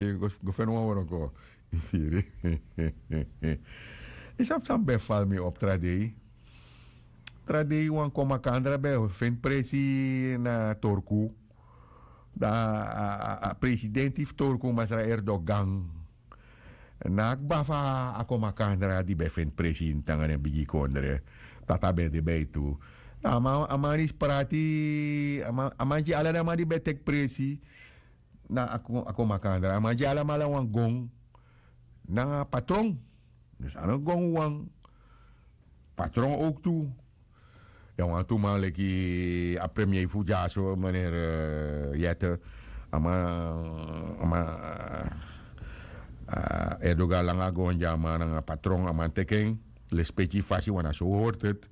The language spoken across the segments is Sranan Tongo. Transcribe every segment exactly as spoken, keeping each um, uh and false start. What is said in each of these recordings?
Go feni wan wroko. Yu firi? Yu sabi san ben fali mi op tra dei. Tra dei wan kon makandra ben feni presi na torku. Dan a presidenti fu torku masra erdogan, na a kba fu a kon makandra di ben feni presi ini tanga den bigi kondre. Tata ben de ben tu. A man disi prati. A man gi ala den man di ben teki presi na a kon makandra a man gi alamala wan gon. Nanga patron. Dus a no gon wan patron owk tu. Ya wan tu man leki a premier fu dyaso meneer yete. A man a man erdogan langa gon gi a man nanga patron a man teki en. Lespeki fasi wan na so hori teti.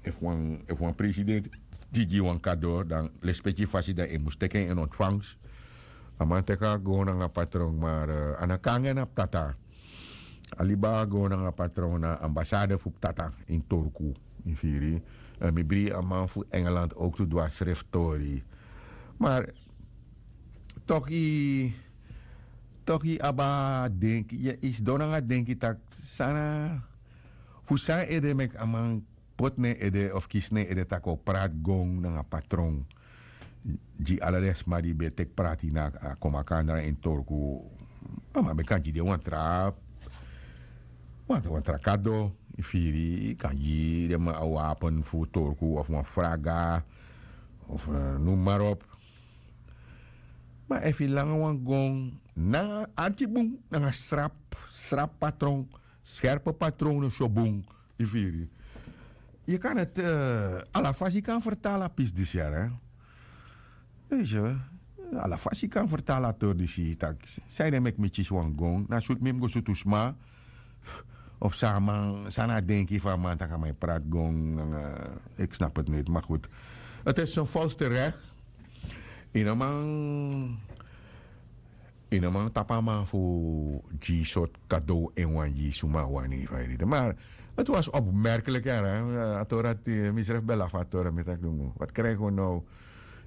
Efu wan presidenti di gi wan kado dan lespeki fasi dan e mus teki en ini ontfangs. A man teki a go nanga patron mar a na kon anga en na ptata. A libi a go nanga patron na ambasade fu ptata ini torku. Yu firi? Mi bri a man fu engeland owk tu du a sreftori. Mar toki toki abi a denki yu sidon nanga denki tak' san na fu san ede meki a man poti na en ede of kisi na en ede tak' a o prati gong nanga patron. Gi ala den sma di ben teki prati na a kon makandra ini torku. A man ben kan gi den wan tra wan tra kado. Yu firi kan gi den man a wapen fu torku of wan fraga of noem maar op. Ma efu yu langa wan gong nanga arki bun nanga srap srap patron skerpe patron no so bun. Yu firi? Yu kan neti ala fasi yu kan fertali a pisi disi yara. Ala fasi yu kan fertali a tori disi tak' san yu den meki mi kisi wan gong na sutu mi mus go sutu sma. Of san a man san na a denki fu a man tak' a man e prati gong nanga. Eki snapu eti neti ma gudu. Eti esi son fals terek. Yu no man yu no man tapu a man fu gi sortu kadow en wan gi suma a wani fa yu ridi mar eti wasi opmerkelik yara. A tori dati mi srefi ben lafu a tori mi taki dungu wati krijgi wi now?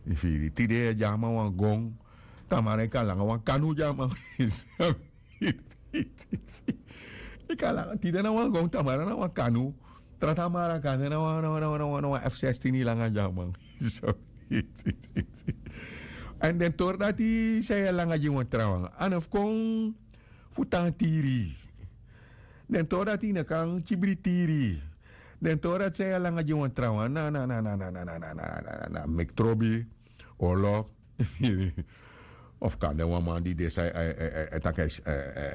Yu firi tide yu e gi a man wan gong. Tamara yu kan langa wan kanu gi a man. Yu kan langa tide na wan gong tamara na wan kanu. Tra tamara kande na wan na wan na wan na wan f sestini langa gi a man. Èn den tori dati san yu e langa gi wan trawan a no fu kon fu tan tiri. Den tori dati yu no kan kibri tiri. Den tori dati san yu e langa gi wan trawan na na na na na na na na na na na meki trobi. Orlok. Of kande wan man di de san e taki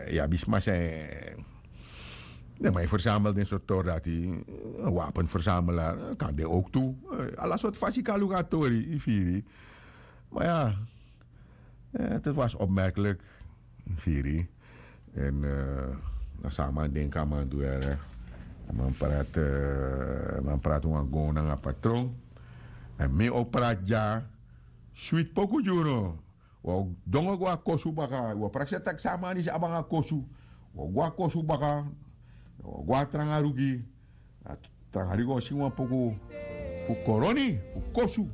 yu abi sma san den man e fersamel den sortu tori dati. Wapen fersamela kan de ouk tu. Ala sortu fasi kan luku a tori yu firi. Ma ya, dat was opmerkelik. Firi. Èn na san a man denki a man du yara. A man prati a man prati wan gon nanga patron. Èn mi o prati dya switi poku gi unu. Wi o dongo go a kosu baka wi o prakseri taki san a man disi abi nanga kosu. Wi o go a kosu baka. Wi o go a tranga rugi. Tranga rugi o singi wan poku fu koroni fu kosu.